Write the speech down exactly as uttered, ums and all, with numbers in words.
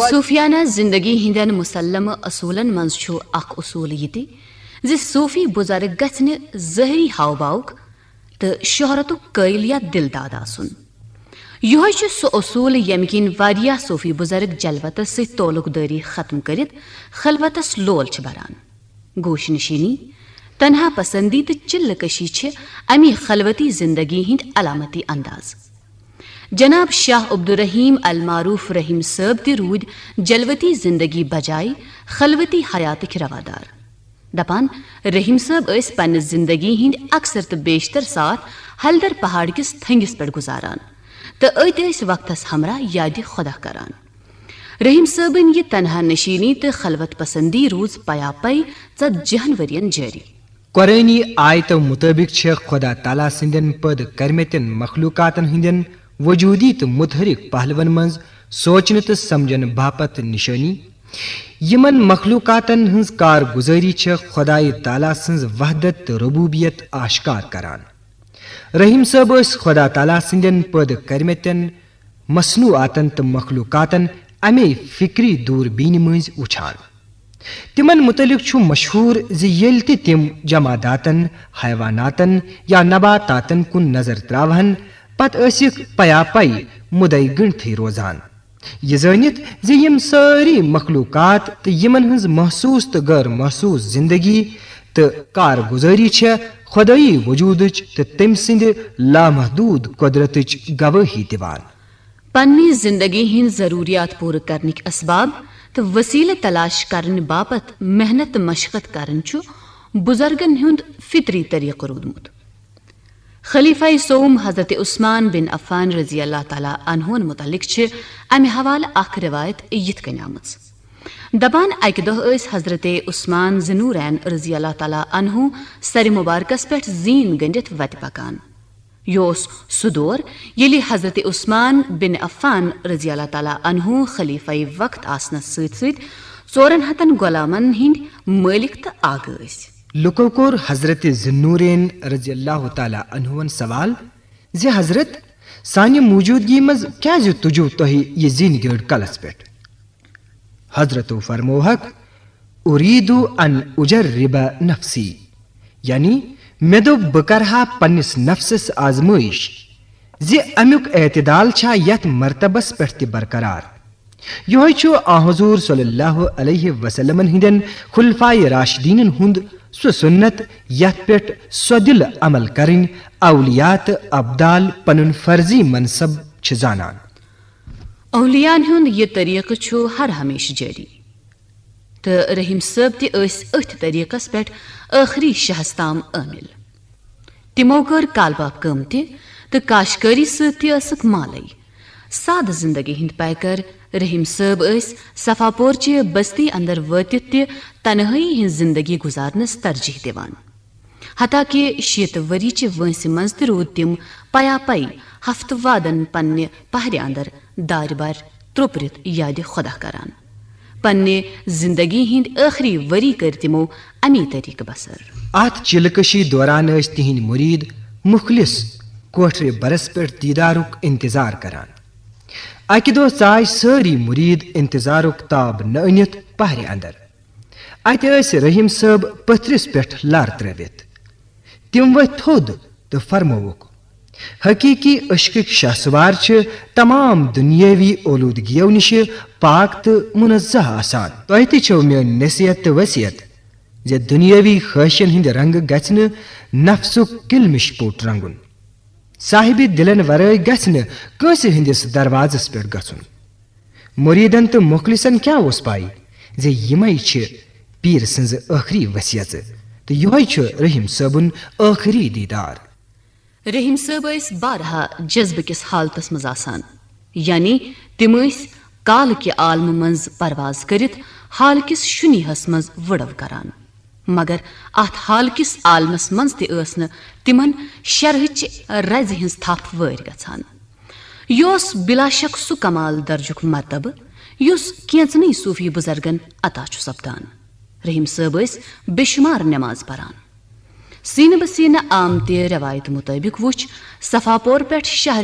صوفیانہ زندگی ہٕنٛدٮ۪ن مسلمہ اصوٗلن منٛز چھُ اکھ اصوٗل یہِ تہِ زِ صوفی بزرگ گژھِ نہٕ ظٲہری ہاو باوُک تہٕ شہرتُک قٲیِل یا دِلداد آسُن۔ یِہوٚے چھُ سُہ اصوٗل ییٚمہِ کِنۍ واریاہ صوفی بزرگ جلوتس سۭتۍ تعلق دٲری ختم کٔرِتھ خلوتس لول چھِ بران۔ گوش نشینی، تنہا پسندی تہٕ چلہ کشی چھِ امی خلوتی زندگی ہٕنٛدۍ علامتی انداز۔ جناب شاہ عبدالرحیم المعروف رحیم صٲب تہِ روٗدۍ جلوتی زندگی بجایہِ خلوتی حیاتٕکۍ روادار۔ دپان، رحیم صٲب ٲسۍ پننہِ زندگی ہٕنٛدۍ اکثر تہٕ بیشتر ساعت ہلدر پہاڑ کِس تھنگِس پٮ۪ٹھ گُزاران تہٕ أتۍ ٲسۍ وقتس ہمراہ یادِ خۄدا کران۔ رحیم صٲبٕنۍ یہِ تنہا نشینی تہٕ خلوت پسندی روٗز پیا پے ژتجی ہن ؤرین جٲری۔ قرآنی آیتو مطٲبق چھےٚ خۄدا تعالیٰ سٕنٛدٮ۪ن پٲدٕ کٔرمٕتٮ۪ن مخلوقاتن ہٕنٛدٮ۪ن وجودی تہٕ متحرک پہلون منٛز سونچنہٕ تہٕ سمجھنہٕ باپتھ نشٲنی۔ یِمن مخلوقاتن ہٕنٛز کارگزٲری چھےٚ خۄدایہِ تعالیٰ سٕنٛز وحدت تہٕ ربوبیت آشکار کران۔ رحیم صٲب ٲسۍ خۄدا تعالیٰ سٕنٛدٮ۪ن پٲدٕ کٔرمٕتٮ۪ن مصنوعاتن تہٕ مخلوقاتن امے فکری دوربیٖنہِ مٔنٛزۍ وٕچھان۔ تِمن متعلق چھُ مشہوٗر زِ ییٚلہِ تہِ تِم جماداتن، حیواناتن یا نباتاتن کُن نظر تراوہن، پتہٕ ٲسِکھ پیا پے مُدعے گٔنڈتھٕے روزان۔ یہِ زٲنِتھ زِ یِم سٲری مخلوقات تہٕ یِمن ہٕنٛز محسوٗس تہٕ غٲر محسوٗس زندگی تہٕ کارگزٲری چھےٚ خۄدٲیی وجوٗدٕچ تہٕ تٔمۍ سٕنٛدِ لامحدوٗد قۄدرتٕچ گوٲہی دِوان۔ پننہِ زندگی ہٕنٛدۍ ضروٗریات پوٗرٕ کرنٕکۍ اسباب تہٕ وسیلہٕ تلاش کرنہٕ باپتھ محنت تہٕ مشقت کرٕنۍ چھُ بزرگن ہُنٛد فطری طریقہٕ روٗدمُت۔ خلیفہ سوم حضرت عثمان بن عفان رضی اللہ تعالیٰ عنہن متعلق چھِ امہِ حوالہٕ اکھ روایت یِتھ کٔنۍ آمٕژ۔ دپان، اکہِ دۄہ ٲسۍ حضرت عثمان ذی نورین رضی اللہ تعالیٰ عنہ سرِ مبارکس پٮ۪ٹھ زیٖن گٔنڈِتھ وتہِ پکان۔ یہِ اوس سُہ دور ییٚلہِ حضرت عثمان بن عفان رضی اللہ تعالیٰ عنہ خلیفہ وقت آسنس سۭتۍ سۭتۍ ژورن ہتن غلامن ہٕنٛدۍ مٲلِک تہٕ آغا ٲسۍ۔ لُکو کوٚر حضرت ذی نورین رضی اللہ تعالیٰ عنہن سوال زِ حضرت، سانہِ موجودگی منٛز کیازِ تُجو تۄہہِ یہِ زِنۍ گٔڑ کلس پٮ۪ٹھ؟ حضرتو فرمووہکھ، ارید ان اجرب نفسی، یعنی مےٚ دوٚپ بہٕ کرٕ ہا پننِس نفسس آزمٲیش زِ امیُک اعتدال چھا یتھ مرتبس پٮ۪ٹھ تہِ برقرار۔ یِہوٚے چھُ آ حضور صلی اللہ علیہ وسلمن ہٕنٛدٮ۪ن خلفائے راشدینن ہُنٛد سُہ سُنت یتھ پٮ۪ٹھ سۄ دِل عمل کرٕنۍ اولیاء تہٕ ابدال پنُن فرضی منصب چھِ زانان۔ اولیاءن ہُنٛد یہِ طریقہٕ چھُ ہر ہمیشہٕ جٲری، تہٕ رحیم صٲب تہِ ٲسۍ أتھۍ طریقس پٮ۪ٹھ ٲخری شہس تام عٲمِل۔ تِمو کٔر کالباپ کٲم تہِ تہٕ کاشکٲری سۭتۍ تہِ ٲسٕکھ مالٕے۔ سادٕ زندگی ہٕنٛدۍ پیکر رحیم صٲب ٲسۍ صفا پورچہِ بستی اندر وٲتِتھ تہِ تنہٲئی ہٕنٛز زندگی گُزارنس ترجیح دِوان۔ حتیٰ کہ شیٖتہٕ ؤری چہِ وٲنٛسہِ منٛز تہِ روٗدۍ تِم پیا پے ہفتہٕ وادن پننہِ پہرِ اندر دارِ بارِ ترٛوپرِتھ یادِ خۄدا کران۔ پننہِ زندگی ہٕنٛدۍ ٲخری ؤری کٔرۍ تِمو امی طریقہٕ بسر۔ اتھ چلکشی دوران ٲسۍ تِہنٛدۍ مرید مخلص کوٹھرِ برس پٮ۪ٹھ دیدارُک انتظار کران۔ اکہِ دۄہ ژاے سٲری مرید انتظارُک تاب نہٕ أنِتھ پہرِ اندر۔ اتہِ ٲسۍ رحیم صٲب پتھرِس پٮ۪ٹھ لر ترٲوِتھ۔ تِم ؤتھۍ تھوٚد تہٕ فرمووُکھ، حقیقی عشقٕکۍ شاہ سوار چھِ تمام دنیاوی اولودگیو نِشہِ پاک تہٕ منزہ آسان۔ تۄہہِ تہِ چھو میٲنۍ نصیحت تہٕ وصیت زِ دنیاوی خٲہشن ہٕنٛدِ رنگہٕ گژھِ نہٕ نفسُک کلمش پوٚٹ رنگُن۔ صاحبِ دِلن ورٲے گژھِ نہٕ کٲنٛسہِ ہٕنٛدِس دروازس پٮ۪ٹھ گژھُن۔ مریدن تہٕ مخلصن کیٛاہ اوس پَے زِ یِمے چھِ پیٖر سٕنٛز ٲخری وصیژٕ تہٕ یِہوٚے چھُ رحیم صٲبُن ٲخری دیٖدار۔ رحیم صٲب ٲسۍ بارہا جذبہٕ کِس حالتس منٛز آسان، یعنی تِم ٲسۍ کالہٕ کہِ عالمہٕ منٛز پرواز کٔرِتھ حال کِس شُنیہس منٛز وُڑو کران۔ مگر اتھ حال کِس عالمس منٛز تہِ ٲس نہٕ تِمن شرحٕچ رزِ ہٕنٛز تھپھ وٲرۍ گژھان۔ یہِ اوس بلا شک سُہ کمال درجُک مرتبہٕ یُس کینژنٕے صوفی بزرگن عطا چھُ سپدان۔ رحیم صٲب ٲسۍ بے شمار نماز پران۔ سینہٕ بہ سینہٕ آمتہِ روایتہٕ مطٲبق وُچھ صفا پور پٮ۪ٹھ شہر